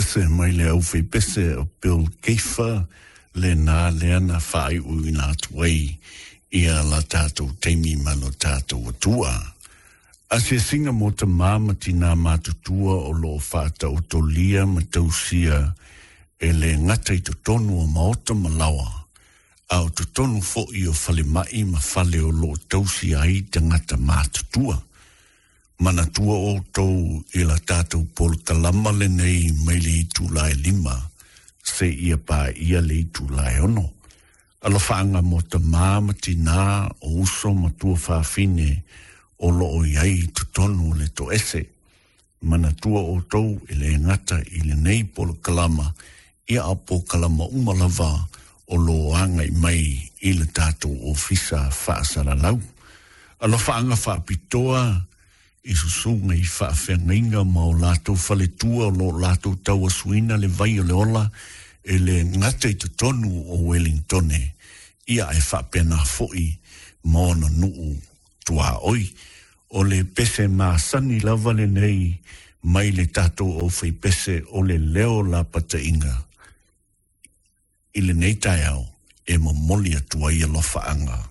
Pese mai le aufaipese o Bill Gaither lena lea na faaiuiuina atu ai ia la tatou taimi ma lo tatou Atua. Asiasiga mo tamā ma tinā matutua o lo o faataotolia ma tausia e le gata i totonu o maota ma laoa, a o totonu foi o falemai ma fale o lo o tausia ai tagata matutua. Manatua outou i la tatou polokalama lenei mai le itula e 5 seia paia le itula e 6. Alofaaga mo tamā ma tinā o uso ma tuafafine o lo o i ai i totonu o le toese. Manatua outou e le gata i lenei polokalama, ia a polokalama uma lava o lo o agai mai i le tatou ofisa faasalalau. Alofaaga faapitoa i susuga i faafeagaiga ma o latou faletua o lo o latou tauasuina le vai o le ola e le gata i totonu o Welingtone, ia ae faapena foi ma ona nuu tuaoi. O le pese masani lava lenei mai le tatou aufaipese o le leo lapataiga i lenei taeao e momoli atu ai alofaaga.